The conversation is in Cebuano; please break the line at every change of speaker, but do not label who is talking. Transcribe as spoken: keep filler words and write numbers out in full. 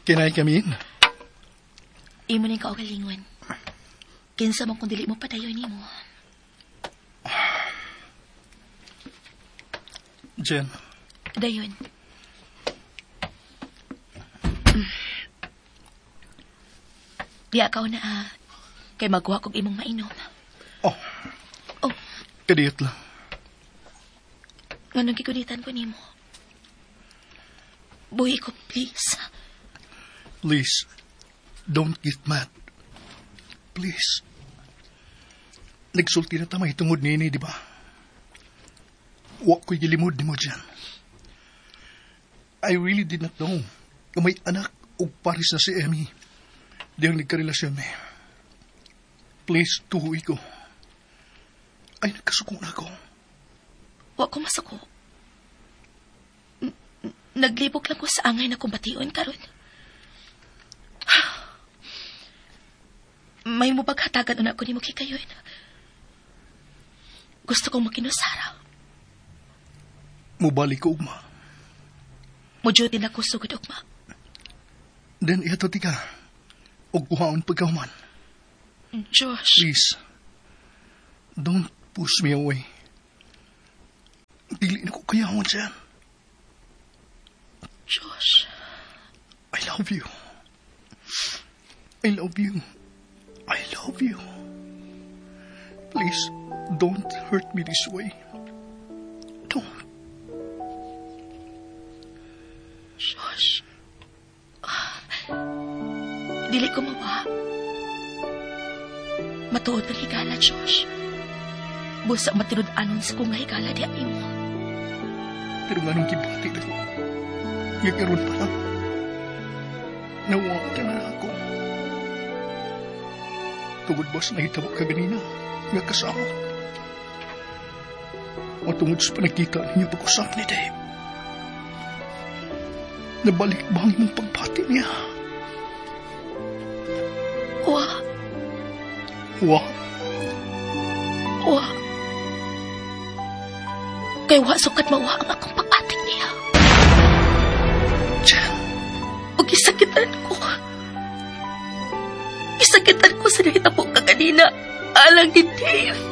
Can I come in?
Imo ning kaugalingon. Kinsa man kung dili mo padayon nimo.
Jen,
Dayon. Mm. Diya ka na ah. Kay magwa kog imong mainom.
Oh.
Oh.
Kadiyot lang.
Nganong gigunitan ko nimo? Buhi ko, please.
Please, don't get mad. Please. Nagsulti na tamay tungod nini, di ba? Wa ko'y gilimod nimo dyan. I really did not know na may anak og paris na si Emmy. Diyang nagkarelasyon mi. Please, tuhoy ko. Ay, nagkasuko na ako.
Wa ko masuko. N- Naglibog lang ko sa angay na kumbation karon. May mo baghatagan una ko nimo kikayon. Gusto kong makinusara.
Mubalik ko, ugma.
Mo-duty na ko sugod ugma.
Then, ihatod ka. Og kuhaon pagkahuman.
Josh.
Please, don't push me away. Dili na ko kayahon siya.
Josh.
I love you. I love you. I love you. Please, don't hurt me this way. Don't.
Josh. Ah, dili ko mawa. Matuod ang higala, Josh. Busa matinud-anon sa kong higala di mo.
Pero nga nung gibati na ko, nga karon pa lang, nawa ka na ako. Tungod ba sa nahitabo ka ganina, nga kasama? O tungod sa panagkita ninyo pag-usap ni Dave? Nabalik ba ang imong pagbati niya?
Wa.
Wa?
Wa. Kay wa sukat mawa ang akong pagbati niya.
Jen.
O gisakitan ko. Gisakitan ko sa nahitabo ka kanina. Alang ni Dave.